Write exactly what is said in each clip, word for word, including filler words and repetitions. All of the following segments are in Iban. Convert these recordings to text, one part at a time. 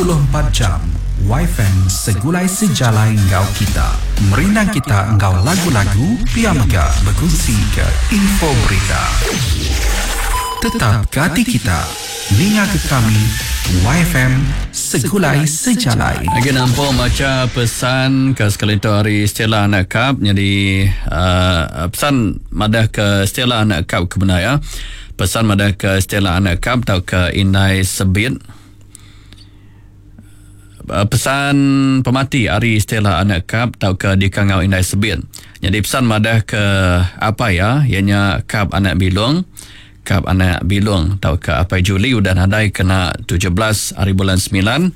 puluh empat jam Y F M segulai sejalai enggau kita. Merindang kita enggau lagu-lagu, pia mega bekunsi ke info berita. Tetap gati kita. Ninga ke kami Y F M segulai sejalai. Lagi nampung baca pesan ke sekali tu hari Stella anak kap. Jadi uh, pesan madah ke Stella anak kap ke benar ya. Pesan madah ke Stella anak kap atau ke Indai Sebit. Uh, pesan pemati hari Stella anak kap atau ke Dikangau Indai Sebit. Jadi pesan madah ke apa ya? Ianya kap anak bilung. Kap anak bilung atau ke Apai Juli udah nadai kena tujuh belas hari bulan sembilan,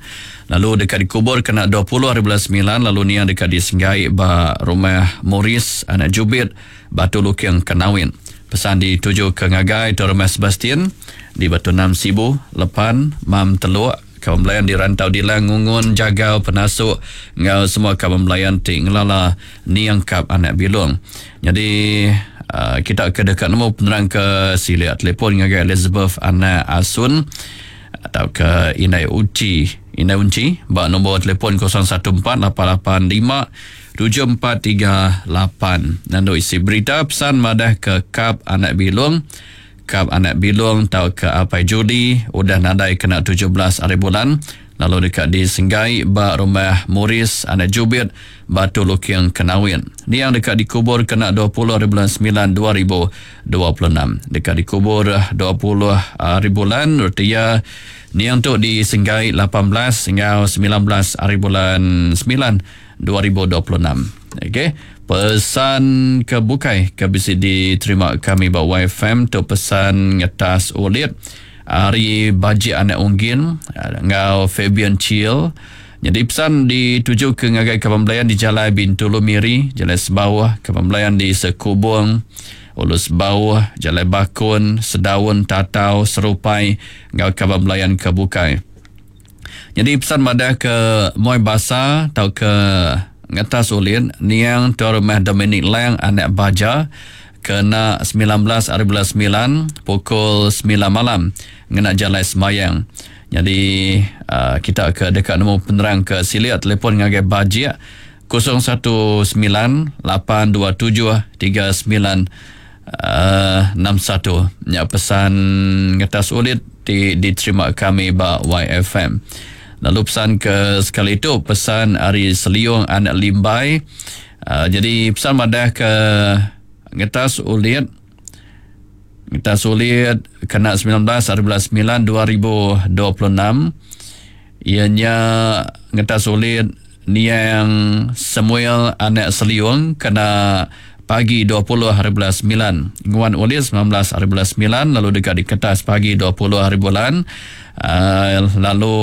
lalu dekat dikubur kena dua puluh hari bulan sembilan, lalu nia dekat disenggai ba rumah Morris anak Jubit, Batu Luking, Kenawin. Pesan dituju ke ngagai tu rumah Sebastian di Batu Enam Sibu, Lepan, Mam Teluk, kaum belayan di Rantau Dilang, Ngungun, Jagau, Penasuk, ngau semua kaum belayan ti ngelala niang kap anak bilung. Jadi uh, kita ke dekat nemu penerang ke silik, telefon ngagai Elizabeth anak Asun atau ke Indai Uci, Indai Unci ba nombor telefon kosong satu empat lapan lapan lima tujuh empat tiga lapan. Nandu isi berita pesan madah ke kap anak bilung, kap anak bilung atau ke Apai Judi udah nadai kena tujuh belas hari bulan, lalu dekat di Senggai ba rumah Morris anak Jubit, Batu Luking, Kenawin. Ni yang dekat dikubur kena dua puluh hari bulan sembilan dua ribu dua puluh enam. Dekat dikubur dua puluh hari bulan, artinya ni yang tu di Senggai lapan belas hingga sembilan belas hari bulan sembilan dua ribu dua puluh enam. Okey, pesan ke bukai ke bisa diterima kami ba Y F M tu pesan ngetas ulit hari Baji anak Unggin ngau Fabian Chill. Jadi pesan dituju ke ngagai kaban belayan di Jalan Bintulu Miri, Jalan Sebawah, kaban belayan di Sekubung, Ulus Bawah, Jalan Bakun, Sedaun, Tatau, Serupai, ngau kaban belayan ke bukai. Jadi pesan madah ke Moi Basa atau ke ngetas ulin niang tuan rumah Dominic Lang anak Baja kena sembilan belas hari bulan sembilan pukul sembilan malam ngena jalan semayang. Jadi uh, kita ke dekat nemu penerang ke silia, telefon ngagai Bajik kosong satu sembilan lapan dua tujuh tiga sembilan uh, enam satu. Ya, pesan ngetas ulit di, diterima kami ba Y F M. Lalu pesan ke sekali itu pesan Ari Seliung anak Limbai. Uh, jadi pesan madah ke ngetas ulit ngetas ulit kena sembilan belas hari bulan sembilan dua ribu dua puluh enam, ianya ngetas ulit niang Samuel anak Seliung kena pagi dua puluh hari bulan sembilan. Nguan ulit sembilan belas hari bulan sembilan, lalu dekat di kertas pagi dua puluh hari bulan. Uh, lalu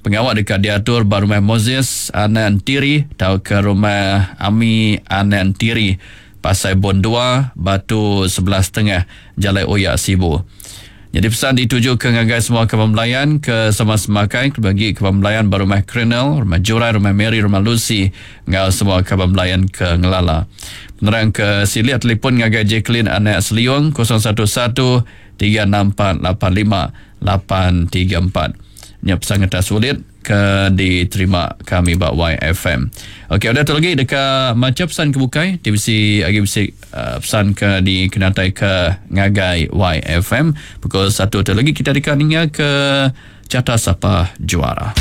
pengawal dekat diatur ba rumah Moses anak Tiri atau ke rumah Ami anak Tiri, Pasai Bon dua, Batu sebelas Tengah, Jalan Oyak, Sibu. Jadi pesan dituju ke ngagai semua kaban belayan ke sama semakai, bagi kaban belayan ba rumah Krenel, rumah Jurai, rumah Mary, rumah Lucy, ngau semua kaban belayan ke Ngelala. Penerang ke silia, telefon ngagai Jacqueline anak Seliung kosong satu satu tiga enam empat lapan lima lapan tiga empat. Nya pesan kata sulit ke diterima kami ba Y F M. Okey, ada tu lagi dekat macam pesan ke bukai, T V C lagi bisi uh, pesan ke di kenatai ke ngagai Y F M. Pukul satu tu lagi kita dekat ninga ke carta sapa juara.